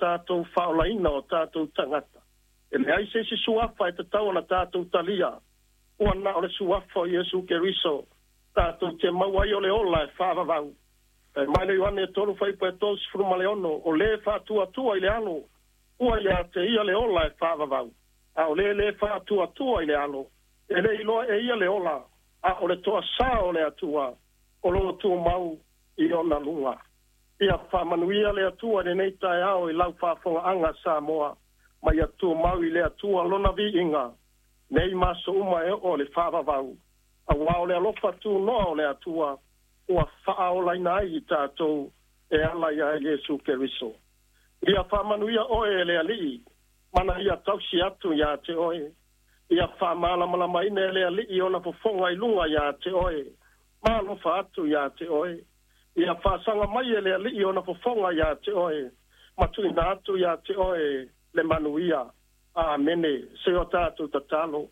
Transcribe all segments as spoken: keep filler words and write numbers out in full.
tātou faaolaina o tātou tagata. E leai se isi suafa e tatau ona tātou talia, ua na o le suafa o Iesu Keriso tātou te maua ai o le ola e faavavau. E mai le Ioane tolu fuaiupu e tolusefulu ma le ono, o lē faatuatua i le Alo, ua ia te ia le ola e faavavau, a o lē lē faatuatua i le Alo, e lē iloa e ia le ola, a o le toasā o le Atua o loo tumau i ona luga. Ia faamanuia le Atua i lenei taeao i lau faafogaaga Samoa, ma ia tumau i le Atua lona viiga nei ma aso uma e oo le faavavau, auā o le alofa tunoa o le Atua ua faaolaina ai i tatou e ala iā Iesu Keriso. Ia faamanuia oe e le Alii, mana ia tausi atu iā te oe. Ia faamalamalamaina e le Alii ona fofoga i luga iā te oe, ma alofa atu iā te oe. Ia faasaga mai e le Alii ona fofoga iā te oe, ma tuuina atu iā te oe le manuia. Amene. Se o tātou tatalo.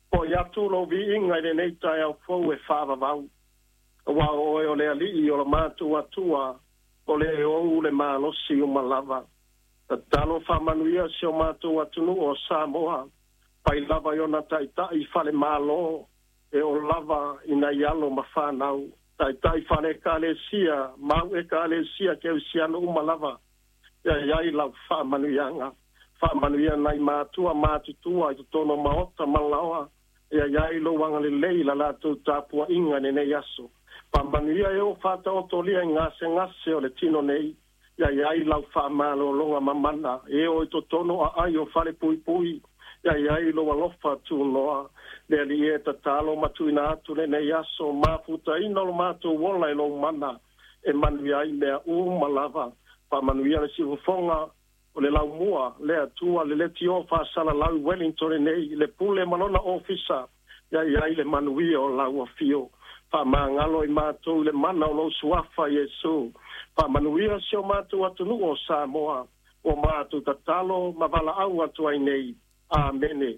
Fo'i atu lou viiga i lenei taeao fou e faavavau, auā o oe o le Alii o le matou Atua, o le ou le malosi uma lava. Tatalo faamanuia si o matou atunuu o Samoa, pai lava i ona taʻitaʻi falemālō e oo lava i nai alo ma fanau, taʻitaʻi faale-Ekalesia ma au Ekalesia kerisiano uma lava, ia i ai lau faamanuiaga. Faamanuia nai matua matutua i totonu o maota ma laoa, ia i ai lou agalelei i la latou tapuaʻiga i lenei aso. Faamanuia e oo faataotolia i gasegase o le tino nei, ia i ai lau faamalologa mamana e oo i totonu o aai o falepuipui, ia i ai lou alofa tunoa. Le Alii e, tatalo ma tuuina atu lenei aso mafutaina o lo matou ola i lou mana e manuia ai mea uma lava. Faamanuia le siufofoga o le laumua le Atua le leitio faasalalau i Wellington lenei, le pule ma lona ofisa, ia i ai le manuia o lau afio. Faamagalo i matou i le mana o lou suafa Iesu. Faamanuia si o matou atunuu o Samoa, ua matou tatalo ma valaau atu ai nei. Amene.